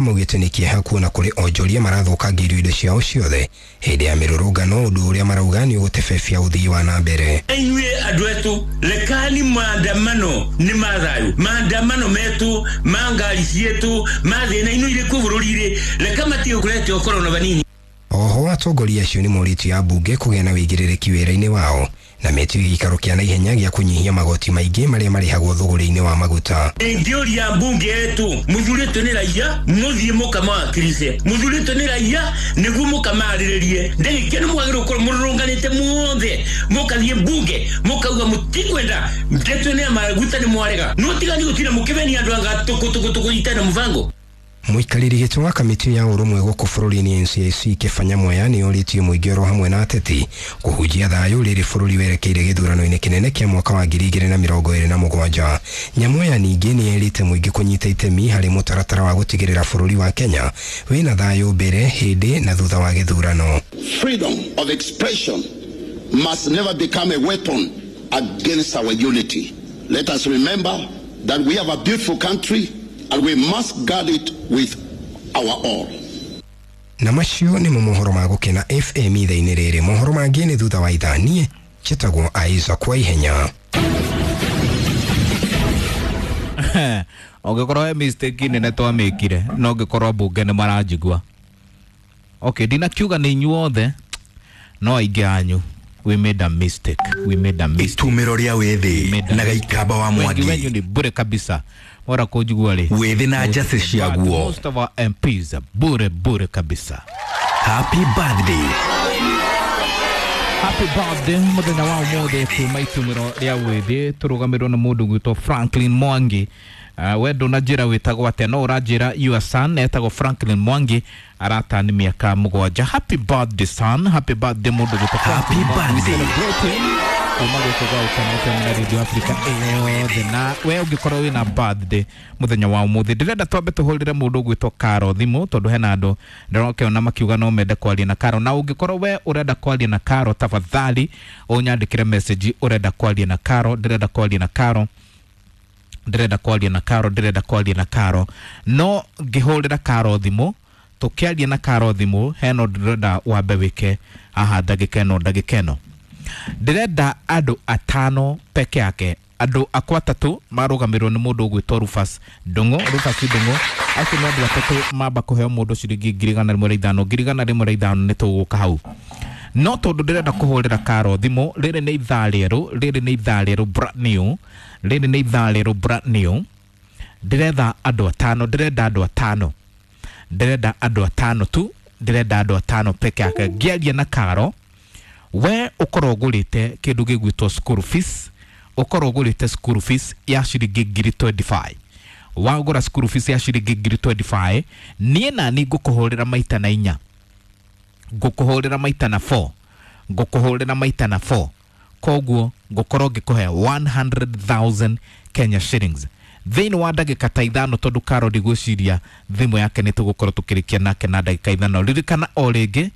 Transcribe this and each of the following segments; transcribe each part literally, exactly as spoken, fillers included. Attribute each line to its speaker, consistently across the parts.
Speaker 1: Maugĩte nĩ kĩeha kuona kũrĩ onjoria marathũkangĩirio indo ciao ciothe hĩndĩ ya mĩrũrũngano, ũndũ ũrĩa marauga nĩ ũgũtebebia ũthii wa na mbere.
Speaker 2: Inyuĩ andũ etu, rekani maandamano nĩ ma thayũ, maandamano metu ma ngari cietu ma thĩna ino irĩ kuo bũrũri-rĩ, reka matige kũrete ũkorwo na vanini.
Speaker 1: Oho atongoria acio nĩ morĩtio ya mbunge kũgĩa na wĩigĩrĩrĩki wĩra-inĩ wao na metio gĩikaro kĩa naihenya gĩa kũnyihia magoti maingĩ marĩa marĩhagwo thũgũrĩ-inĩ wa maguta.
Speaker 2: Ingĩũria mbunge yetu, mũthurĩtwo nĩ raia mũthiĩ mũkamawakilishe, mũthurĩtwo nĩ raia nĩguo mũkamarĩrĩrie. Ndagĩka nĩ mwagĩrĩirwo gũkorwo mũrũrũnganĩte muothe, mũkathiĩ mbunge mũkauga mũtikwenda ndeto nĩ ya maguta nĩ mwarega, no tigani gũtinda mũkĩmenia andũ anga tũkũ tũkũ tũkũ itana mũbango.
Speaker 1: Mũikarĩri gĩtĩ wa kamĩtĩ ya ũrũmwe gũkũ bũrũri-inĩ N C I C Kĩba Nyamweya nĩ orĩtie mũingĩ oro hamwe na ateti kũhunjia thayũ rĩrĩ bũrũri werekeire gĩthurano-inĩ kĩnene kĩa mwaka wa ngiri igĩrĩ na mĩrongo ĩrĩ na mũgwanja. Nyamweya ningĩ nĩ erĩte mũingĩ kũnyita itemi harĩ mũtaratara wa gũtigĩrĩra bũrũri wa Kenya wĩna thayũ mbere, hĩndĩ na thutha wa gĩthurano.
Speaker 3: Freedom of expression must never become a weapon against our unity. Let us remember that we have a beautiful country and we must guard it with our all.
Speaker 1: Na macio nĩmo mohoro ma Gũkena F M ithaa-inĩ rĩrĩ. Mohoro mangĩ nĩ thutha wa ithaa. Niĩ njĩtagwo Isaac kwa ihenya.
Speaker 4: Ũngĩkorwo he mistake nene twamĩkire, no ũngĩkorwo mbunge nĩ maranjigua. Okay, ndinakiuga nĩ inyuothe, no aingĩ anyu. We made a mistake. We made a mistake.
Speaker 5: Itumĩro rĩa wĩthĩ na Gaikamba wa
Speaker 4: Mwangi. Wengi wenyu ni bure kabisa. Mora kũnjigua rĩ.
Speaker 5: Wĩthĩ na njacĩ ciaguo.
Speaker 4: Most of our M Ps are bure bure kabisa.
Speaker 5: Happy birthday.
Speaker 4: Happy birthday mũthenya wa ũmũthĩ kuma itumĩro rĩa wĩthĩ tũrũgamĩrwo nĩ mũndũ gwĩtwo Franklin Mwangi. Uh, we ndũnanjĩra wĩtagwo atĩa, no ũranjĩra your son etagwo Franklin Mwangi, aratani mĩaka mũgwanja. Happy birthday son, happy birthday mũndũ gwĩtwo
Speaker 5: Happy birthday.
Speaker 4: Kuma gũkũ gwa Gũkena F M na Radio Africa ĩyothe. Na we ũngĩkorwo wĩna birthday mũthenya wa ũmũthĩ, ndĩrenda twambe tũhũrĩre mũndũ ũgwĩtwo Caro thimũ, tondũ hena andũ ndĩrokĩona makiuga no mende kwaria na Caro. Na ũngĩkorwo we ũrenda kwaria na Caro, tafadhali ũnyandĩkĩre message ũrenda kwaria na Caro, ndĩrenda kwaria na Caro, ndĩrenda kwaria na Caro, ndĩrenda kwaria na Caro. No ngĩhũrĩra Caro thimũ, tũkĩaria na Caro thimũ, hena ũndũ ndĩrenda wambe wĩke haha ndagĩka ĩno, ndagĩka ĩno. Ndĩrenda andũ atano peke yake, andũ akwa atatũ marũgamĩrĩrwo nĩ mũndũ ũgwĩtwo Rufus Ndung'u. Rufus Ndung'u acio nĩ andũ atatũ mamba kũheo mũndũ ciringi ngiri igana rĩmwe rĩa ithano, ngiri igana rĩmwe rĩa ithano nĩ tũgũka hau. No tondũ ndĩrenda kũhũrĩra Caro thimũ, rĩrĩ nĩ ithaa rĩerũ, rĩrĩ nĩ ithaa rĩerũ brand new, rĩrĩ nĩ ithaa rĩerũ brand new. Ndĩretha andũ atano, ndĩrenda andũ atano, ndĩrenda andũ atano tu, ndĩrenda andũ atano peke yake. Ngĩaria na Caro, we ũkorwo ũgũrĩte kĩndũ gĩgwĩtwo school fees, ũkorwo ũgũrĩte school fees ya ciringi ngiri twenty-five. Wagũra school fees ya ciringi ngiri twenty-five, niĩ nani ngũkũhũrĩra maita na inya, ngũkũhũrĩra maita na four, ngũkũhũrĩra maita na four. Koguo ngũkorwo ngĩkũhe one hundred thousand Kenya shillings thĩinĩ wa ndagĩka ta ithano, tondũ Caro ndigwĩciria thimũ yake nĩ tũgũkorwo tũkĩrĩkia nake na ndagĩka ithano. Ririkana o rĩngĩ,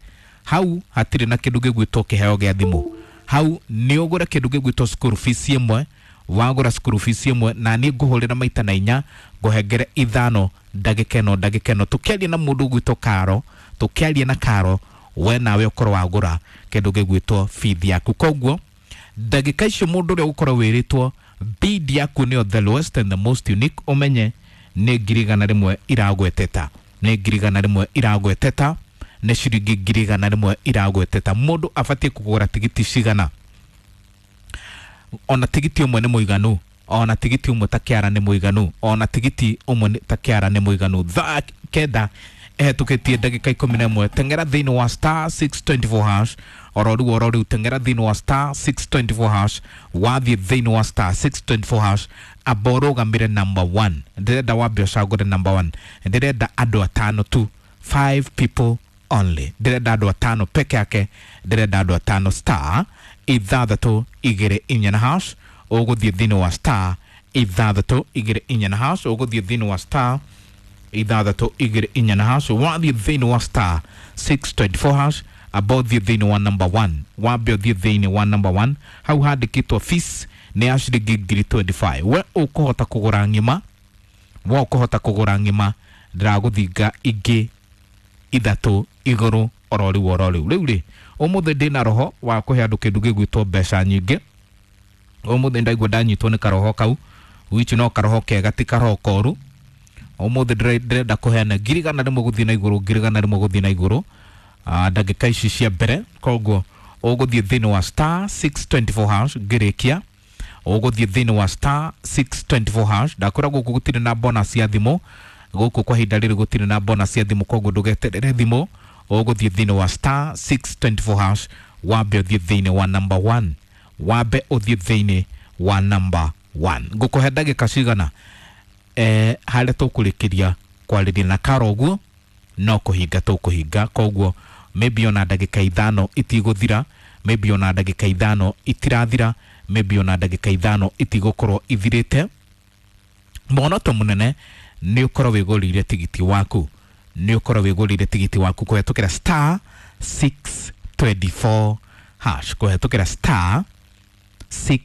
Speaker 4: hau hatirĩ na kĩndũ gĩgwĩtwo kĩheo gĩa thimũ. Hau nĩ ũgũre kĩndũ gĩgwĩtwo school fees ĩmwe, wagũra school fees ĩmwe, na niĩ ngũhũrĩra maita na inya, ngũhengere ithano ndagĩka ĩno, ndagĩka ĩno. Tũkĩaria na mũndũ ũgwĩtwo Caro, tũkĩaria na Caro, we nawe ũkorwo wagũra kĩndũ gĩgwĩtwo fees yaku. Koguo ndagĩka icio mũndũ ũrĩa ũgũkorwo wĩrĩtwo bid yaku nĩyo the lowest and the most unique, ũmenye nĩ ngiri igana rĩmwe iragweteta, nĩ ngiri igana rĩmwe iragweteta, nĩ ciringi ngiri igana rĩmwe iragweteta. Mũndũ abatiĩ kũgũra tigiti cigana? Ona tigiti ũmwe nĩ mũiganu, ona tigiti ũmwe ta kĩara nĩ mũiganu, ona tigiti ũmwe ta kĩara nĩ mũiganu. Thaa kenda ĩhetũkĩtie ndagĩka ikũmi na ĩmwe, teng'era thĩinĩ wa star six twenty-four hash, oro rĩu oro rĩu teng'era thĩinĩ wa star six twenty-four hash. Wathiĩ thĩinĩ wa star six twenty-four hash, amba ũrũgamĩre number one. Ndĩrenda wambe ũcagũre number one. Ndĩrenda andũ atano tu, five people only. Ndĩrenda andũ atano peke yake, ndĩrenda andũ atano. Star ithathatũ igĩrĩ inya na hash, ũgũthiĩ thĩinĩ wa star ithathatũ igĩrĩ inya na hash, ũgũthiĩ thĩinĩ wa star ithathatũ igĩrĩ inya na hash. Wathiĩ thĩinĩ wa star six twenty-four hash, amba ũthiĩ thĩinĩ wa number one, wambe ũthiĩ thĩinĩ wa number one, hau handĩkĩtwo fees nĩ ya ciringi ngiri twenty-five. We ũkũhota kũgũra ng'ima, we ũkũhota kũgũra ng'ima Ndĩragũthinga ingĩ ithatũ igũrũ oro rĩu oro rĩu. Rĩu rĩ, ũmũthĩ ndĩna roho wa kũhe andũ kĩndũ gĩgwĩtwo mbeca nyingĩ. Ũmũthĩ ndaigua ndanyitwo nĩ karoho kau, which no karoho kega ti karoho koru. Ũmũthĩ ndĩrenda kũheana ngiri igana rĩmwe gũthiĩ na igũrũ, ngiri igana rĩmwe gũthiĩ na igũrũ ndagĩka ici cia mbere. Koguo ũgũthiĩ thĩinĩ wa star six twenty four hash ngĩrĩkia, ũgũthiĩ thĩinĩ wa star six twenty four hash. Ndakwĩra gũkũ gũtirĩ na bonus ya thimũ, gũkũ kwa ihinda rĩrĩ gũtirĩ na bonus ya thimũ, koguo ndũgeterere thimũ. Ũgũthiĩ thĩinĩ wa star six twenty four hash, wambe ũthiĩ thĩinĩ wa number one, wambe ũthiĩ thĩinĩ wa number one. Ngũkũhe ndagĩka cigana eh, harĩa tũkũrĩkĩria kwarĩria na Karo ũguo no kũhinga tũkũhinga, koguo maybe ona ndagĩka ithano itigũthira, maybe ona ndagĩka ithano itirathira, maybe ona ndagĩka ithano itigũkorwo ithirĩte. Muonoto mũnene nĩ ũkorwo wĩgũrĩire tigiti waku, nĩ ũkorwo wĩgũrĩire tigiti waku kũhetũkĩra star six twenty four hash, kũhetũkĩra star six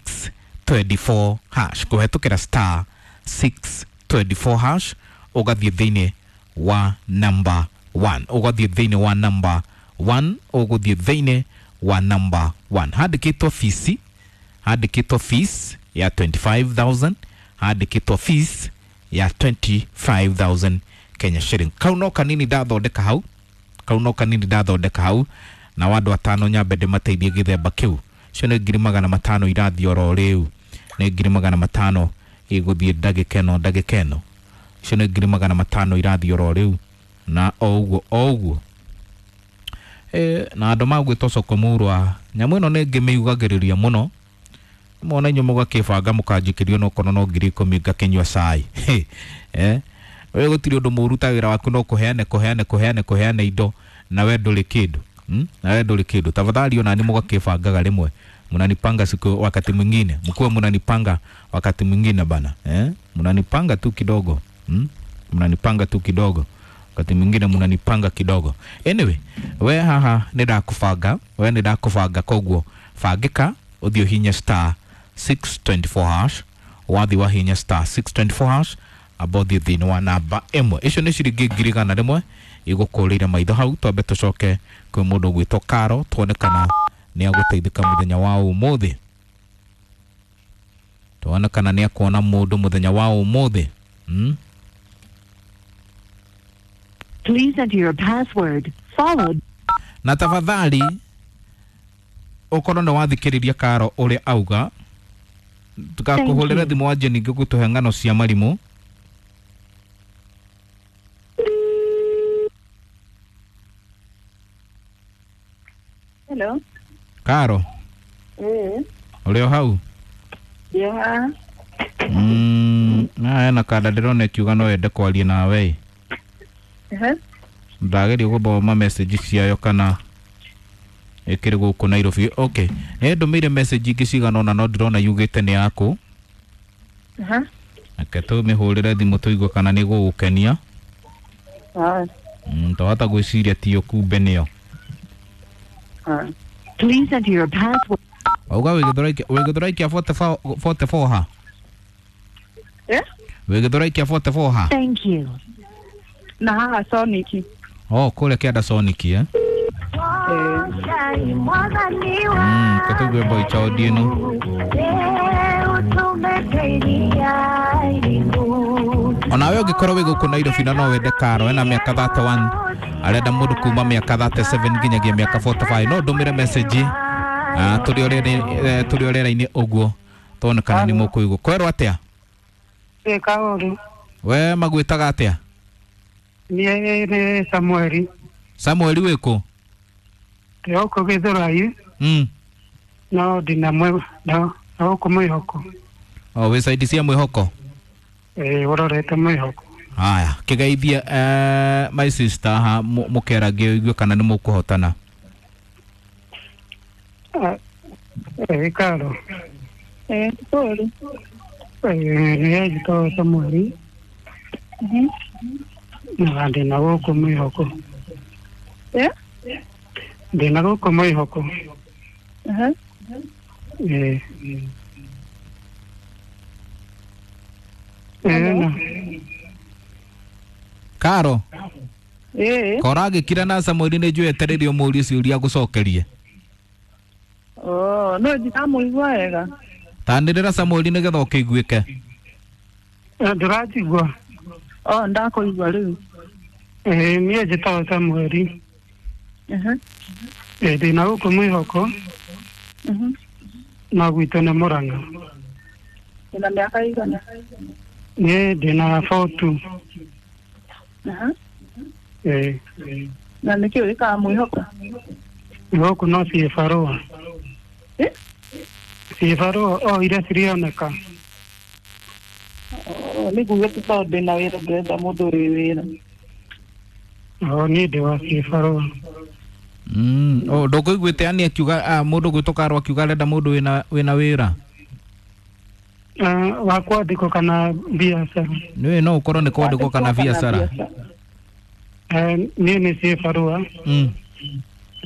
Speaker 4: twenty four hash, kũhetũkĩra star six twenty four hash, ũgathiĩ thĩinĩ wa number one, ũgathiĩ thĩinĩ wa number one, ũgũthiĩ thĩinĩ wa number one. Handĩkĩtwo fees, handĩkĩtwo fees ya twenty five thousand, handĩkĩtwo fees ya twenty five thousand Kenya shilling. Kau no kanini ndathondeka hau, kau no kanini ndathondeka hau, na andũ atano nyambe ndĩmateithie gĩthemba kĩu. Icio nĩ ngiri magana matano irathiĩ oro rĩu, nĩ ngiri magana matano igũthiĩ ndagĩka ĩno, ndagĩka ĩno. Icio nĩ ngiri magana matano irathiĩ oro rĩu, na o ũguo o ũguo. E, na andũ magwĩtwo soko mũrwa, nyamũ ĩno nĩ ngĩmĩugagĩrĩria mũno. Mona inyuĩ mũgakĩbanga mũkanjikĩrio no kono no ngiri ikũmi ngakĩnyua cai. Eh, we gũtirĩ ũndũ mũru ta wĩra waku no kũheane kũheane kũheane kũheane indo na we ndũrĩ kĩndũ. Hmm? Na we ndũrĩ kĩndũ. Tafadhali ona ni mũgakĩbangaga rĩmwe. Mnanipanga siku wakati mwingine. Mkuwe mnanipanga wakati mwingine bana. Eh? Mnanipanga tu kidogo. Hmm? Mnanipanga tu kidogo. Wakati mwingine mnanipanga kidogo. Anyway, we haha nĩ ndakũbanga, we nĩ ndakũbanga, koguo bangĩka ũthiĩ ũhinye star six twenty four hash, wathi wahinya star six twenty four hash, amba ũthiĩ thĩinĩ wa namba ĩmwe. Icio nĩ ciringi ngiri igana rĩmwe igũkũrĩire maitho hau. Twambe tũcoke kwĩ mũndũ ũgwĩtwo Karo tuone kana nĩ agũteithĩka mũthenya wa ũmũthĩ, tuone kana nĩ akuona mũndũ mũthenya wa ũmũthĩ. Hmm?
Speaker 6: Please enter your password followed.
Speaker 4: Na tafadhali ũkorwo nĩ wathikĩrĩria Karo ũrĩa auga, tukakũhũrĩra thimũ wanjie ningĩ gũtũhe ng'ano cia marimũ.
Speaker 7: Hello.
Speaker 4: Karo.
Speaker 7: Eh.
Speaker 4: Ũrĩ o hau?
Speaker 7: Yeah.
Speaker 4: Mm, na hena kanda ndĩrona ĩkiuga no yende kwaria nawe.
Speaker 7: Eh.
Speaker 4: Ndageria gũthoma message ciayo kana ĩkĩrĩ gũkũ Nairobi. Okay. Nĩ ndũmĩire message ingĩ cigana ũna no ndĩrona yugĩte nĩ yaku.
Speaker 7: Uh-huh.
Speaker 4: Reke tũmĩhũrĩre thimũ tũigue kana nĩ gũgũkenia.
Speaker 7: Ah.
Speaker 4: Mm, twahota gwĩciria tiyo kumbe nĩyo.
Speaker 7: Ah.
Speaker 6: Please enter your password.
Speaker 4: Wauga wĩ Gĩthũrai kĩa forty four ha?
Speaker 7: Eh?
Speaker 4: Wĩ Gĩthũrai kĩa forty four ha?
Speaker 6: Thank you.
Speaker 7: Na haha Sonic.
Speaker 4: Oh, kũrĩa kĩanda Sonic, eh? Mm, katũgue boy child ĩno. Onawe ũngĩkorwo wĩ gũkũ Nairobi na no wende Karo ena mĩaka thirty one, arenda mũndũ kuma mĩaka thirty seven nginyagia mĩaka forty five, no ndũmĩre message ah tũrĩ ũrĩa tũrĩ ũrĩa-inĩ ũguo tuone kana nĩ mũkũigua. Kwerwo atĩa?
Speaker 8: Ĩ kaũru.
Speaker 4: We magwĩtaga atĩa?
Speaker 8: Niĩ nĩ Samueli.
Speaker 4: Samueli wĩkũ?
Speaker 8: Ndĩ gũkũ Gĩthũrai.
Speaker 4: Mm.
Speaker 8: No ndĩna mwe no gũkũ Mwĩhoko.
Speaker 4: O wĩ side cia Mwĩhoko?
Speaker 8: Ĩ ũrorete Mwĩhoko.
Speaker 4: Haya, kĩgeithie eh, my sister ha mũkeragie ũigue kana nĩ mũkũhotana.
Speaker 8: Ĩ Karo.
Speaker 7: Eh, pole.
Speaker 8: Ĩ nĩ njĩtagwo Samueli.
Speaker 7: Mhm.
Speaker 8: Na ndĩna gũkũ Mwĩhoko.
Speaker 7: Eh?
Speaker 8: Ndĩna gũkũ Mwĩhoko.
Speaker 7: Uh-huh.
Speaker 8: Ĩ. Ĩ na.
Speaker 4: Karo.
Speaker 7: Ĩĩ.
Speaker 4: Koragĩkira na Samuel nĩ njũĩ etereire ũmũrie ciũria agũcokerie.
Speaker 7: Oh, no ndamũigua wega.
Speaker 4: Tanĩrĩra Samuel nĩgetha ũkĩiguĩke.
Speaker 8: Ndĩranjigua.
Speaker 7: Oh, ndakũigua rĩu.
Speaker 8: Ĩĩ niĩ njĩtagwo Samuel.
Speaker 7: Mhm.
Speaker 8: Ĩĩ ndĩna gũkũ mwĩhoko.
Speaker 7: Mhm.
Speaker 8: Na gwitũ nĩ Mũrang'a.
Speaker 7: Wĩna mĩaka igana?
Speaker 8: Niĩ ndĩna forty.
Speaker 7: Aha.
Speaker 8: Ĩĩ.
Speaker 7: Na nĩkĩ wĩkaga mwĩhoko?
Speaker 8: Gũkũ no ciĩbarũa.
Speaker 7: Eh?
Speaker 8: Ciĩbarũa o iria cirioneka.
Speaker 7: Oh, nĩ ngugĩte tondũ ndĩna wĩra ndĩrenda mũndũ wĩ wĩra.
Speaker 8: O niĩ ndĩ wa ciĩbarũa.
Speaker 4: Mm, oh ndũkũiguĩte ani akiuga ah, mũndũ gwĩtwo Karo akiuga arenda mũndũ wĩna wĩna wĩra.
Speaker 8: Uh, wa kwandĩkwo kana biacara?
Speaker 4: Nĩũĩ no ũkorwo nĩ kwandĩkwo kana biacara.
Speaker 8: Eh, niĩ nĩ ciĩbarũa.
Speaker 4: Mm.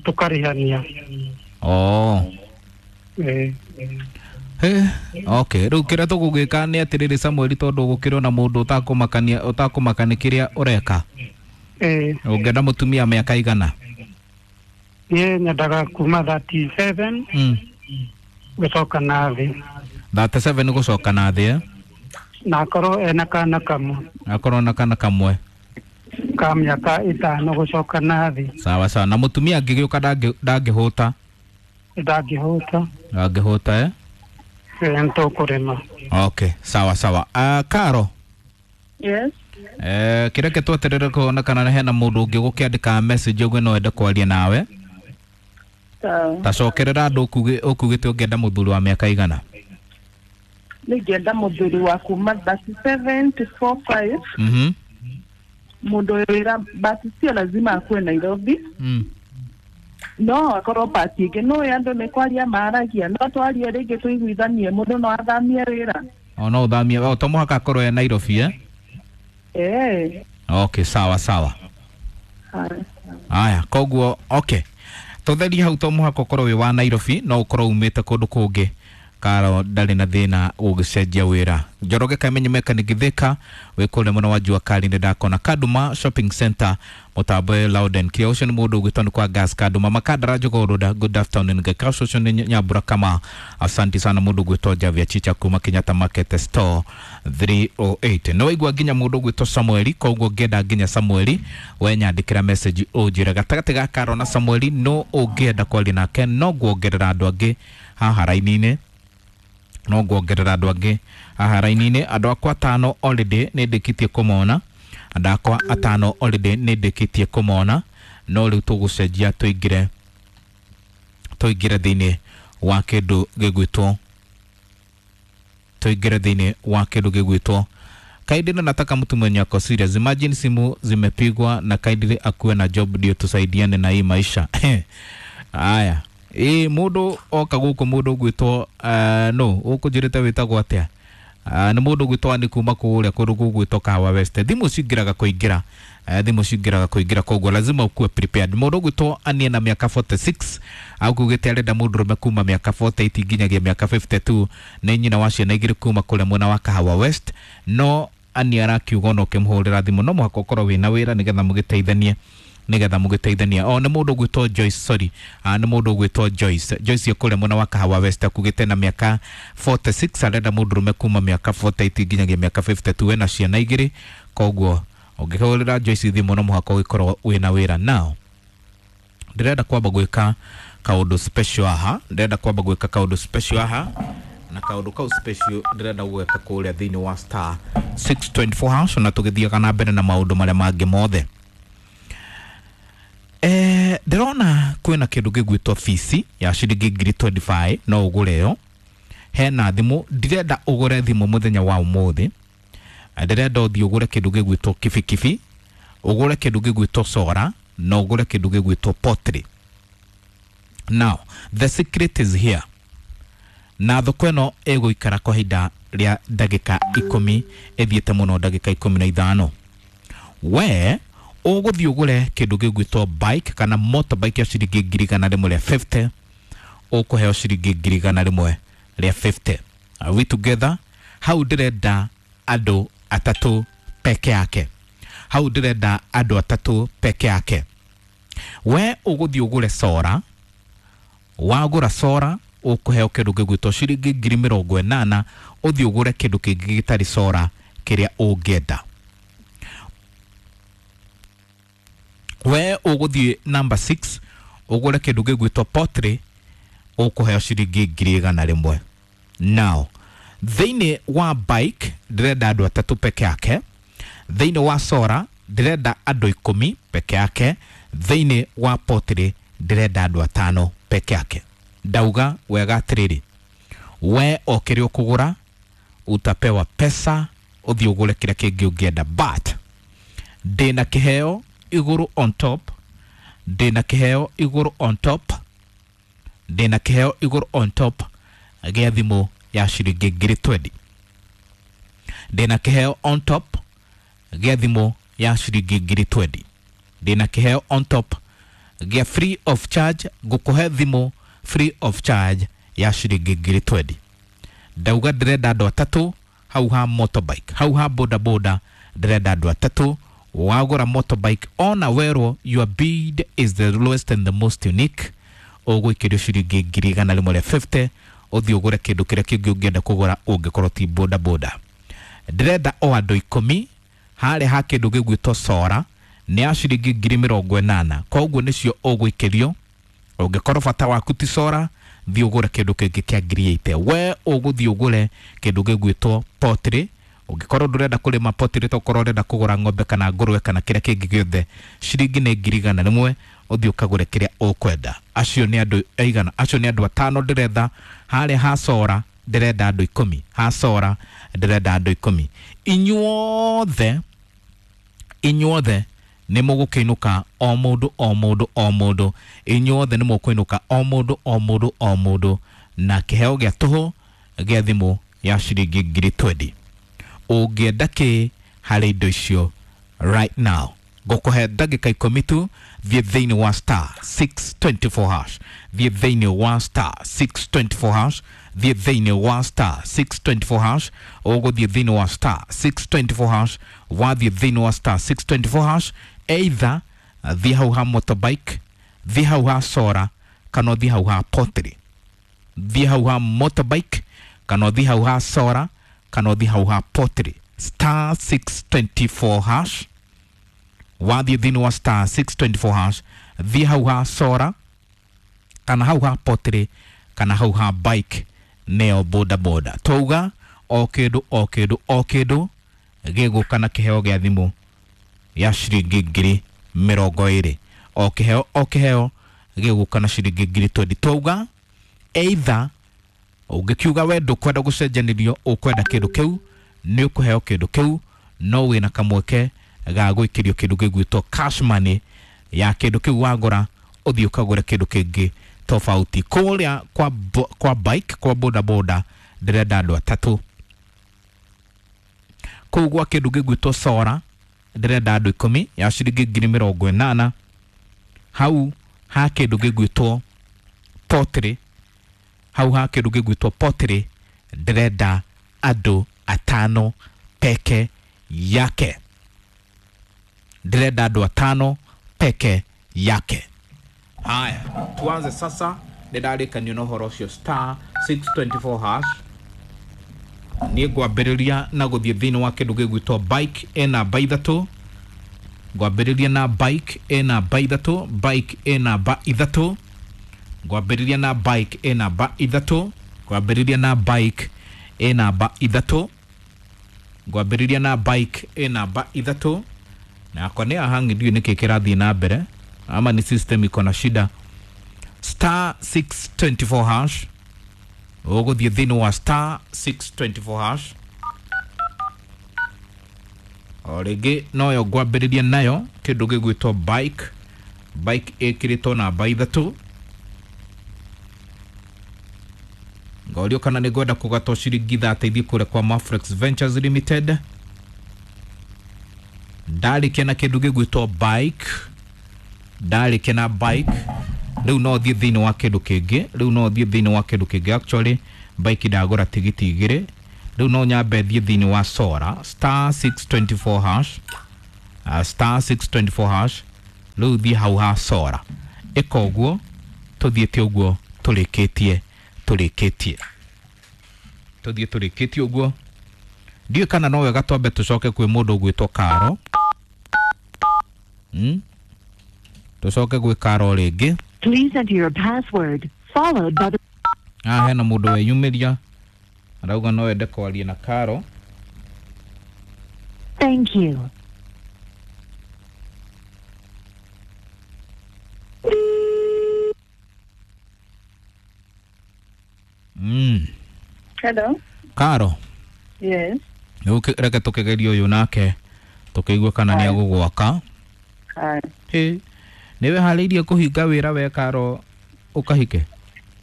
Speaker 8: Tũkarĩhania.
Speaker 4: Oh.
Speaker 8: Ĩĩ.
Speaker 4: He, okay, rĩu kĩrĩa tũgũgĩka nĩ atĩrĩrĩ Samuel tondũ gũkĩrĩ na mũndũ ũtakũmakania ũtakũmakania kĩrĩa ũreka.
Speaker 8: Ĩĩ.
Speaker 4: Ũngĩenda mũtumia mĩaka igana?
Speaker 8: Niĩ nyendaga kuma thirty seven
Speaker 4: Mm.
Speaker 8: gũcoka na thĩ.
Speaker 4: thirty seven gũcoka na thĩ eh?
Speaker 8: Na akorwo ena kana kamwe.
Speaker 4: Akorwo na kana kamwe.
Speaker 8: Ka mĩaka ĩtano gũcoka na thĩ.
Speaker 4: Sawa sawa. Na mũtumia angĩgĩũka ndangĩhũta?
Speaker 8: Ndangĩhũta.
Speaker 4: Ndangĩhũta eh?
Speaker 8: Ĩĩ nĩtũkũrĩma.
Speaker 4: Okay, sawa sawa. Uh, Karo.
Speaker 7: Yes.
Speaker 4: Eh, kĩreke tweterere kuona kana hena mũndũ ũngĩ gũkĩandĩka message ũguo no ende kwaria nawe.
Speaker 7: Sawa.
Speaker 4: Tacokerera andũ ũkugĩte ũngĩenda mũthuri wa mĩaka igana?
Speaker 7: Nĩngĩenda mũthuri wa kuma thirty seven to forty five.
Speaker 4: Mhm.
Speaker 7: Mũndũ wĩra but sio lazima akuwe Nairobi.
Speaker 4: Mm.
Speaker 7: No akorwo pati ĩngĩ no andũ nĩ kwaria maragia no twarie rĩngĩ tũiguithanie mũndũ no athamie wĩra.
Speaker 4: O no ũthamie o to mũhaka akorwo e Nairobi eh?
Speaker 7: Eh.
Speaker 4: Okay, sawa sawa. Aya, koguo okay. Tũtherie hau to mũhaka ũkorwo wĩ wa Nairobi no ũkorwo umĩte kũndũ kũngĩ. Karo ndarĩ na thĩna ũgĩcenjia wĩra. Njoroge Kamenyi Mechanic Thika wĩ kũrĩa mwena wa Jua Kali nĩ ndakona Kaduma Shopping Center mũtambo Louden Kia ũcio nĩ mũndũ ũgwĩtwo nĩ kwa gas Kaduma Makandara Jogoo good afternoon Ngekaco ũcio nĩ Nyambura Kama asante sana mũndũ ũgwĩtwo Javia Chicha kuma Kenyatta Market Store three oh eight. Nĩ waigua nginya mũndũ ũgwĩtwo Samuel koguo ngĩenda nginya Samuel we nyandĩkĩra message ũnjĩre gatagatĩ ga Karo na Samuel no ũngĩenda kwaria nake no nguongerera andũ angĩ haha raini-inĩ no nguongerera andũ angĩ haha raini-inĩ andũ akwa atano already nĩ ndĩkĩtie kũmona andũ akwa atano already nĩ ndĩkĩtie kũmona no rĩu tũgũcenjia tũingĩre tũingĩre thĩinĩ wa kĩndũ gĩgwĩtwo tũingĩre thĩinĩ wa kĩndũ gĩgwĩtwo Kaidile. Nataka mtu mwenye ako serious. Imagine simu zimepigwa na Kaidile akuwe na job ndio tusaidiane na hii maisha. Aya. Ĩ mũndũ oka gũkũ mũndũ ũgwĩtwo uh, no ũkũnjĩrĩte wĩtagwo atĩa? Uh, nĩ mũndũ ũgwĩtwo nĩ kuma kũrĩa kũndũ gũgwĩtwo Kahawa West. Thimũ cingĩraga kũingĩra uh, thimũ cingĩraga kũingĩra koguo lazima ukuwe prepared. Mũndũ ũgwĩtwo anie na mĩaka forty six augĩte arenda mũndũrũme kuma mĩaka forty eight nginyagia mĩaka fifty two nĩ nyina wa ciana igĩrĩ kuma kũrĩa mwena wa Kahawa West no ani arakiuga ona ũkĩmũhũrĩra thimũ no mũhaka ũkorwo wĩna wĩra nĩgetha mũgĩteithanie nigetha mũgĩteithania. O nĩ mũndũ ũgwĩtwo Joyce sorry ah nĩ mũndũ ũgwĩtwo Joyce Joyce kũrĩa mwena wa Kahawa West akugĩte na mĩaka forty six arenda mũndũrũme kuma mĩaka forty eight nginyagia mĩaka fifty two ena ciana igĩrĩ koguo ũngĩhũrĩra Joyce thimũ no mũhaka ũgĩkorwo wĩna wĩra. Now ndĩrenda kwamba gwĩka kaũndũ special haha ndĩrenda kwamba gwĩka kaũndũ special haha na kaũndũ kau special ndĩrenda gwĩka kũrĩa thĩinĩ wa star six twenty four hash na tũgĩthiaga na mbere na maũndũ marĩa mangĩ mothe. Eh, ndĩrona kwĩna kĩndũ gĩgwĩtwo fees ya ciringi ngiri twenty five no ũgũre yo. Hena thimũ ndirenda ũgũre thimũ mũthenya wa ũmũthĩ ndĩrenda ũthiĩ ũgũre kĩndũ gĩgwĩtwo kibikibi ũgũre kĩndũ gĩgwĩtwo sora na ũgũre kĩndũ gĩgwĩtwo pottery. Now the secret is here na thoko ĩno ĩgũikara kwa ihinda rĩa ndagĩka ikũmi ĩthiĩte mũno ndagĩka ikũmi na ithano. We ũgũthiĩ ũgũre kĩndũ gĩgwĩtwo bike kana motorbike ya ciringi ngiri igana rĩmwe rĩa fifty ũkũheo ciringi ngiri igana rĩmwe rĩa fifty. Are we together? Hau ndĩrenda andũ atatũ peke yake. Hau ndĩrenda andũ atatũ peke yake. We ũgũthiĩ ũgũre sora, wagũra sora ũkũheo kĩndũ gĩgwĩtwo ciringi ngiri mĩrongo ĩnana, ũthiĩ ũgũre kĩndũ kĩngĩ gĩtarĩ sora kĩrĩa ũngĩenda. We ũgũthiĩ number six ũgũre kĩndũ gĩgwĩtwo pottery, ũkũheo ciringi ngiri igana rĩmwe. Now thĩinĩ wa bike ndĩrenda andũ atatũ peke yake, thĩinĩ wa sora ndĩrenda andũ ikũmi peke yake, thĩinĩ wa pottery ndĩrenda andũ atano peke yake. Ndauga wega atĩrĩrĩ, we o kĩrĩa ũkũgũra utapewa pesa ũthiĩ ũgũre kĩrĩa kĩngĩ ũngĩenda, but ndĩna kĩheo igũrũ on top, ndĩna kĩheo igũrũ on top, ndĩna kĩheo igũrũ on top gĩa thimũ ya ciringi ngiri twenty. Ndĩna kĩheo on top gĩa thimũ ya ciringi ngiri twenty. Ndĩna kĩheo on top gĩa free of charge, ngũkũhe thimũ free of charge ya ciringi ngiri twenty. Ndauga ndĩrenda andũ atatũ hau ha motorbike, hau ha boda boda ndĩrenda andũ atatũ. Wagũra motorbike ona werwo your bid is the lowest and the most unique, ũgũikĩrio ciringi ngiri igana rĩmwe rĩa fifty, ũthiĩ ũgũre kĩndũ kĩrĩa kĩngĩ ũngĩenda kũgũra ũngĩkorwo ti boda boda. Ndĩrenda o andũ ikũmi harĩa ha kĩndũ gĩgwĩtwo sora nĩ ya ciringi ngiri mĩrongo ĩnana, koguo nĩcio ũgũikĩrio. Ũngĩkorwo bata waku ti sora, thiĩ ũgũre kĩndũ kĩngĩ kĩa ngiri eighty. We ũgũthiĩ ũgũre kĩndũ gĩgwĩtwo pottery. Ũngĩkorwo ndũrenda kũrĩma pottery, tokorwo ũrenda kũgũra ng'ombe kana ngũrwe kana kĩrĩa kĩngĩ gĩothe, ciringi nĩ ngiri igana rĩmwe, ũthiĩ ũkagũre kĩrĩa ũkwenda. Acio nĩ andũ aigana? Acio nĩ andũ atano ndĩretha. Harĩa ha sora ndĩrenda andũ ikũmi, ha sora ndĩrenda andũ ikũmi. Inyuothe, inyuothe nĩ mũgũkĩinũka o mũndũ o mũndũ o mũndũ, inyuothe nĩ mũkũinũka o mũndũ o mũndũ o mũndũ na kĩheo gĩa tũhũ gĩa thimũ ya ciringi ngiri twenty. Ũngĩenda kĩ harĩ indo icio right now, ngũkũhe ndagĩka ikũmi tu. Thiĩ thĩinĩ wa star six twenty four hash, thiĩ thĩinĩ wa star six twenty four hash, thiĩ thĩinĩ wa star six twenty four hash. Ũgũthiĩ thĩinĩ wa star six twenty four hash, wathiĩ thĩinĩ wa star six twenty four hash, either thiĩ hau ha motorbike, thiĩ hau ha sora, kana ũthiĩ hau ha pottery. Thiĩ hau ha motorbike, kana ũthiĩ hau ha sora, kana ũthiĩ hau ha pottery. Star six twenty four hash, wathiĩ thĩinĩ wa star six twenty four hash, thiĩ hau ha sora, kana hau ha pottery, kana hau ha bike, neo boda boda. Twauga o kĩndũ o kĩndũ o kĩndũ gĩgũka na kĩheo gĩa thimũ ya ciringi ngiri mĩrongo ĩrĩ. O kĩheo o kĩheo gĩgũka na ciringi ngiri twenty. Twauga either ũngĩkiuga we ndũkwenda gũcenjanĩrio, ũkwenda kĩndũ kĩu, nĩ ũkũheo kĩndũ kĩu, no wĩna kamweke ga gwĩkĩrio kĩndũ gĩgwĩtwo cash money ya kĩndũ kĩu wagũra, ũthiĩ ũkagũre kĩndũ kĩngĩ tofauti. Kũrĩa kwa, kwa bike, kwa boda boda ndĩrenda andũ atatũ. Kũu gwa kĩndũ gĩgwĩtwo sora ndĩrenda andũ ikũmi ya ciringi ngiri mĩrongo ĩnana. Hau ha kĩndũ gĩgwĩtwo pottery, hau ha kĩndũ gĩgwĩtwo pottery ndĩrenda andũ atano peke yake. Ndĩrenda andũ atano peke yake. Haya, tuanze sasa. Nĩndarĩkanio na ũhoro ũcio star six twenty four hash. Niĩ ngwambĩrĩria na gũthiĩ thĩinĩ wa kĩndũ gĩgwĩtwo bike ĩ namba ithatũ. Ngwambĩrĩria na bike ĩ namba ithatũ, bike ĩ namba ithatũ. Ngwambĩrĩria na bike ĩ namba ithatũ, ngwambĩrĩria na bike ĩ namba ithatũ, ngwambĩrĩria na bike ĩ namba ithatũ. Na akwa nĩ ahangi, ndiũĩ nĩkĩ kĩrathiĩ na mbere ama ni system iko na shida. Star six twenty four hash, ũgũthiĩ thĩinĩ wa star six twenty four hash. O rĩngĩ noyo ngwambĩrĩria nayo kĩndũ gĩgwĩtwo bike, bike ĩkĩrĩtwo namba ithatũ. Ngorio kana nĩ ngwenda kũgatwo ciringi thate ithiĩ kũrĩa kwa Mafrex Ventures Limited. Ndarĩkia na kĩndũ gĩgwĩtwo bike, ndarĩkia na bike, rĩu no thiĩ thĩinĩ wa kĩndũ kĩngĩ, rĩu no thiĩ thĩinĩ wa kĩndũ kĩngĩ. Actually bike ndagũra tigiti igĩrĩ, rĩu no nyambe thiĩ thĩinĩ wa sora star six twenty four hash. uh, star six two four hash rĩu thiĩ hau ha sora ĩka ũguo tũthiĩte ũguo tũrĩkĩtie tũrĩkĩtie tũthiĩ tũrĩkĩtie ũguo ndiũĩ kana no wega twambe tũcoke kwĩ mũndũ ũgwĩtwo Karo mm? Tũcoke gwĩ Karo rĩngĩ.
Speaker 6: Please enter your password followed by the
Speaker 4: Ah, hena mũndũ weyumĩria arauga no ende kwaria na Karo.
Speaker 6: Thank you.
Speaker 4: Mm.
Speaker 7: Hello.
Speaker 4: Karo.
Speaker 7: Yes.
Speaker 4: Rĩu reke tũkĩgerie ũyũ nake tũkĩigue kana nĩ egũgwaka.
Speaker 7: Haya.
Speaker 4: Hĩ, nĩ wĩharĩirie kũhinga wĩra we Karo ũkahike?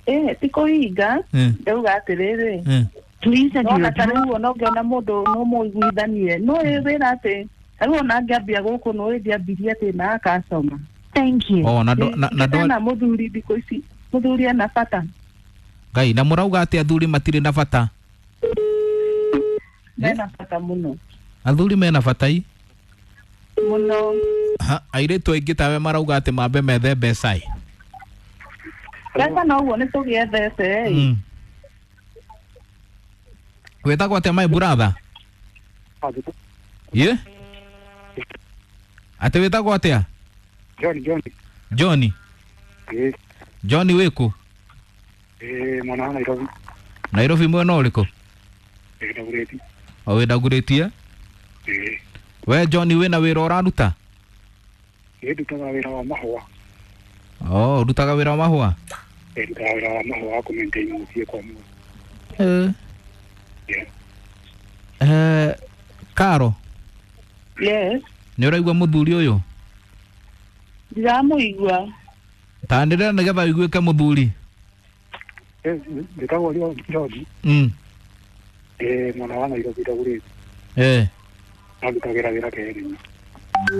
Speaker 7: Eh, ti kũhinga.
Speaker 4: Mm.
Speaker 7: Ndauga atĩrĩrĩ.
Speaker 4: Mm.
Speaker 6: Please enter
Speaker 7: Nona
Speaker 6: your
Speaker 7: ta rĩu ona ũngĩona mũndũ no mũiguithanie no ĩ wĩra atĩ rĩu ona ngĩambia gũkũ no ĩndĩambirie atĩ na akacoma.
Speaker 6: Thank you.
Speaker 4: Oh, na ndo- na na ndo
Speaker 7: na mũthuri thikũ ici mũthuri ena bata.
Speaker 4: Ngai na mũrauga atĩ athuri matirĩ na bata.
Speaker 7: Mena bata mũno.
Speaker 4: Athuri mena bata i?
Speaker 7: Mũno.
Speaker 4: Ha, airĩtu aingĩ tawe marauga atĩ mambe methe mbeca ĩ.
Speaker 7: Mbeca no ũguo nĩ tũgĩethete ĩ.
Speaker 4: Mm. Wĩtagwo atĩa my brother? Ye? Atĩ wĩtagwo atĩa?
Speaker 8: John John.
Speaker 4: Johnny.
Speaker 8: Eh.
Speaker 4: Johnny wĩkũ?
Speaker 8: Eh, mwana wa Nairobi.
Speaker 4: Nairobi mwena ũrĩkũ?
Speaker 8: Eh, Dagoretti.
Speaker 4: O wĩ Dagoretti eh?
Speaker 8: Eh.
Speaker 4: We Johnny wĩna wĩra ũraruta?
Speaker 8: Eh, ndutaga wĩra wa mahũa.
Speaker 4: Oh, ũrutaga wĩra wa mahũa?
Speaker 8: Eh, ndutaga wĩra wa mahũa wa kũ-maintain mũciĩ kwa mũndũ.
Speaker 4: Eh.
Speaker 8: Yeah.
Speaker 4: Eh, Karo.
Speaker 7: Yes.
Speaker 4: Nĩ ũraigua mũthuri ũyũ?
Speaker 7: Ndiramũigua.
Speaker 4: Tanĩrĩra nĩgetha ũiguĩke mũthuri.
Speaker 8: Eh, ndĩtagwo John.
Speaker 4: Mm.
Speaker 8: Eh, mwana wa Nairobi Dagoretti.
Speaker 4: Eh.
Speaker 8: Na ndutagĩra wĩra Karen.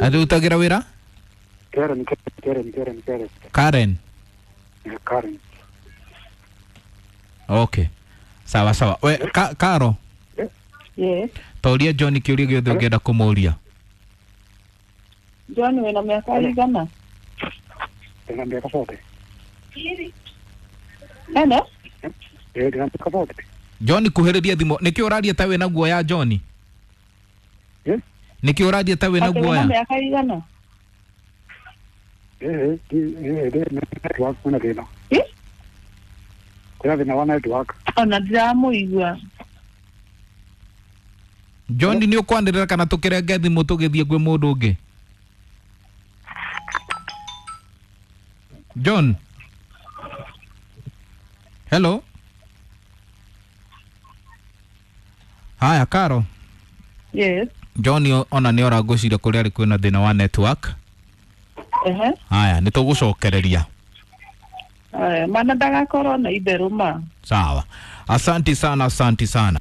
Speaker 4: Atĩ ũrutagĩra wĩra?
Speaker 8: Karen, Karen, Karen, Karen.
Speaker 4: Karen.
Speaker 8: Eh, Karen.
Speaker 4: Okay. Sawa sawa. We ka, Karo.
Speaker 7: Yes.
Speaker 4: Toria John kĩũria gĩothe ũngĩenda kũmũria.
Speaker 7: John wĩna mĩaka ĩigana?
Speaker 8: Ndĩna mĩaka forty.
Speaker 7: Hello?
Speaker 8: Eh, ndĩna mĩaka forty.
Speaker 4: John kuhĩrĩria thimũ. Nĩkĩ ũraria ta wĩna guoya John?
Speaker 8: Eh?
Speaker 4: Nĩkĩ ũraria ta wĩna
Speaker 7: Atĩ wĩna
Speaker 4: guoya?
Speaker 7: mĩaka ĩigana?
Speaker 8: Eh, eh, eh, network kwĩna thĩna.
Speaker 7: Eh?
Speaker 8: Kwĩna thĩna wa network.
Speaker 7: Ona ndiramũigua.
Speaker 4: John nĩ ũkwanĩrĩra kana tũkĩrenge thimũ tũgĩthiĩ kwĩ mũndũ ũngĩ? John. Hello. Haya Karo.
Speaker 7: Yes.
Speaker 4: John ona nĩ ora ngwĩciria kũrĩa arĩ kwĩna thĩna wa network.
Speaker 7: Ehe.
Speaker 4: Haya nĩ tũgũcokereria.
Speaker 7: Aya, mana ndagakorwo na itherũ ma.
Speaker 4: Sawa. Asanti sana, asanti sana.